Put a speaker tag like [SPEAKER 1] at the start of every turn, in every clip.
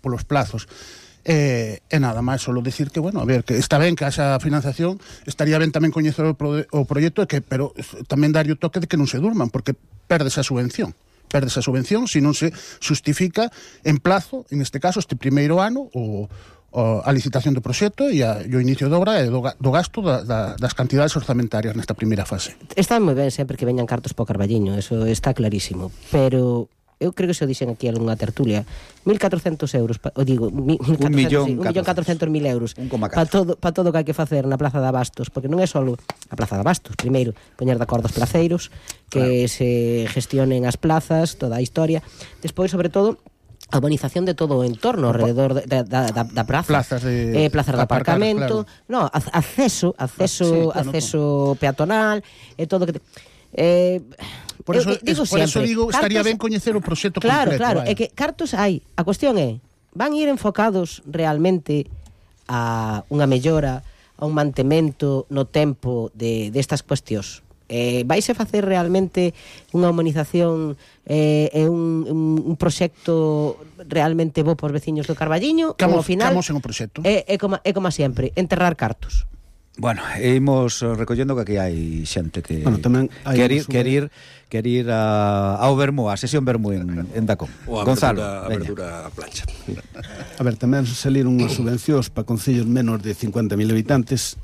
[SPEAKER 1] polos plazos. E nada máis, solo decir que, bueno, a ver, que está ben que haxa financiación, estaría ben tamén coñecer o proxecto, pero tamén darlle o toque de que non se durman, porque perdes a subvención se non se justifica en plazo, en este caso, este primeiro ano, a licitación do proxecto e o inicio de obra e do gasto das cantidades orzamentarias nesta primeira fase.
[SPEAKER 2] Está moi ben sempre que veñan cartos para o Carballiño, eso está clarísimo, pero eu creo que se o dixen aquí en unha tertulia, 1.400 euros, digo, 1.400.000 euros para todo o que hai que facer na Plaza de Abastos, porque non é só a Plaza de Abastos, primeiro, poñer de acordo os placeiros, que se gestionen as plazas, toda a historia, despois, sobre todo, a urbanización de todo o entorno alrededor da praza,
[SPEAKER 1] plazas de
[SPEAKER 2] aparcamento,
[SPEAKER 1] claro.
[SPEAKER 2] No, acceso peatonal e todo que
[SPEAKER 1] por eso digo, estaría ben coñecer o proxecto completo.
[SPEAKER 2] Claro, é que cartos hai. A cuestión é, van ir enfocados realmente a unha mellora, a un mantemento no tempo destas cuestións? Vais a facer realmente unha humanización e un proxecto realmente bo para os veciños do Carballiño?
[SPEAKER 1] Camos
[SPEAKER 2] en
[SPEAKER 1] o proxecto.
[SPEAKER 2] É como sempre, enterrar cartos.
[SPEAKER 3] Bueno, imos recollendo que aquí hai xente que quer ir ao Bermú, a sesión Bermú en Dacón. Gonzalo,
[SPEAKER 4] a abertura a plancha.
[SPEAKER 5] A ver, tamén saliron unhas subvencións para concellos menos de 50.000 habitantes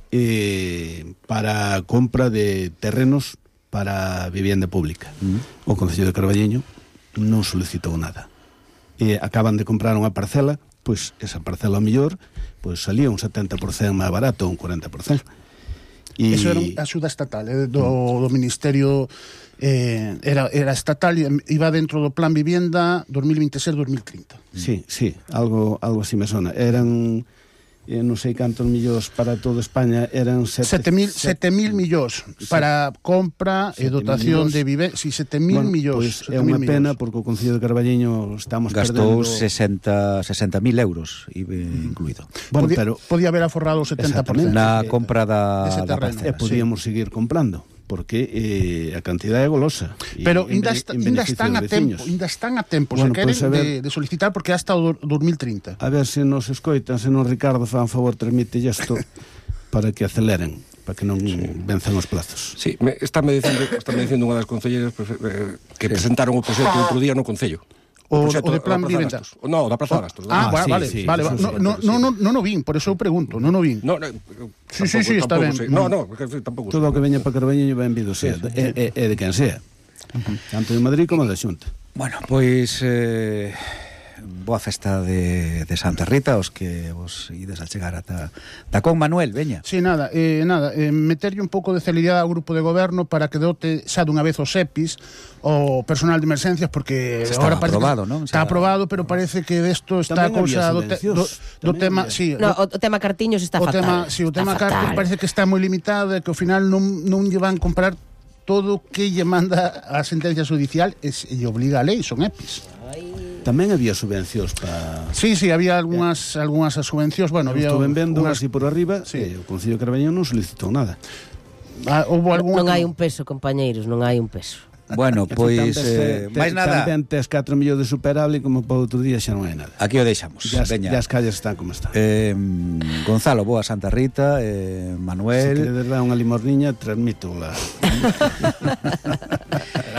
[SPEAKER 5] para compra de terrenos para vivienda pública. O Concello de Carballiño non solicitou nada. Acaban de comprar unha parcela, pois esa parcela ao mellor pois salía un 70% máis barato, un 40%.
[SPEAKER 1] Eso era axuda estatal, do Ministerio, era estatal, iba dentro do Plan Vivienda 2026-2030.
[SPEAKER 5] Sí, algo así me sona. Eran non sei cantos millóns para toda España, eran
[SPEAKER 1] 7.000 millóns para compra e dotación de vivienda. Si, 7.000 millóns.
[SPEAKER 5] Pois é unha pena porque o Concello de Carballiño estamos
[SPEAKER 3] gastou
[SPEAKER 5] perdendo
[SPEAKER 3] 60.000 euros incluído.
[SPEAKER 5] Bueno, pero
[SPEAKER 1] podía haber aforrado o 70%
[SPEAKER 3] na compra da
[SPEAKER 5] E
[SPEAKER 3] parcela.
[SPEAKER 5] podíamos seguir comprando, porque a cantidade é golosa.
[SPEAKER 1] Pero ainda están a tempo,
[SPEAKER 5] bueno,
[SPEAKER 1] se queren,
[SPEAKER 5] pues
[SPEAKER 1] de solicitar, porque hasta o 2030.
[SPEAKER 5] A ver se nos escoitan, se non Ricardo fan favor, transmite isto para que aceleren, para que non venzan os plazos.
[SPEAKER 4] Sí, estáme dicindo unha das concelleras que presentaron o proxecto outro día no Concello.
[SPEAKER 1] O de Plan Vivienda.
[SPEAKER 4] No, da Praza de Abastos.
[SPEAKER 1] Vale. Non o vin, por eso eu pregunto, non o vin. Sí, está ben.
[SPEAKER 4] No, tampouco.
[SPEAKER 5] Todo o que veña para Carballiño benvido sea, é de quen sea. Tanto de Madrid como da Xunta.
[SPEAKER 3] Bueno, pois boa festa de Santa Rita, os que vos ides a chegar ata Dacón. Manuel, veña.
[SPEAKER 1] Sí, meterlle un pouco de celeridade ao grupo de goberno para que dote xa dunha vez os EPIs, o personal de emergencias, porque
[SPEAKER 3] agora
[SPEAKER 1] parece
[SPEAKER 3] aprobado, non?
[SPEAKER 1] Está aprobado, pero parece que desto está a cousa do tema, sí.
[SPEAKER 2] No, o tema cartiños está fatal.
[SPEAKER 1] O tema cartiños parece que está moi limitado e que ao final non lle van comprar todo o que lle manda a sentencia judicial e lle obliga a lei, son EPIs.
[SPEAKER 5] Tamén había subvencións para...
[SPEAKER 1] Sí, había algunhas subvencións, bueno, había...
[SPEAKER 5] Estuve vendo así por arriba, o Concello de Carballiño non solicitou nada.
[SPEAKER 2] Non hai un peso, compañeiros, non hai un peso.
[SPEAKER 3] Bueno, pois máis nada.
[SPEAKER 5] Tamén tes 4 millóns de superable, como para outro día xa non hai nada.
[SPEAKER 3] Aquí o deixamos.
[SPEAKER 5] Ya as calles están como están.
[SPEAKER 3] Gonzalo, boa Santa Rita, Manuel.
[SPEAKER 5] Se queredes dar unha limosniña, transmito la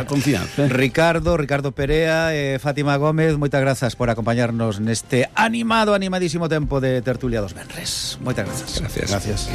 [SPEAKER 5] confianza.
[SPEAKER 3] Ricardo Perea, Fátima Gómez, moitas grazas por acompañarnos neste animadísimo tempo de tertulia dos venres. Moitas grazas.
[SPEAKER 4] Gracias.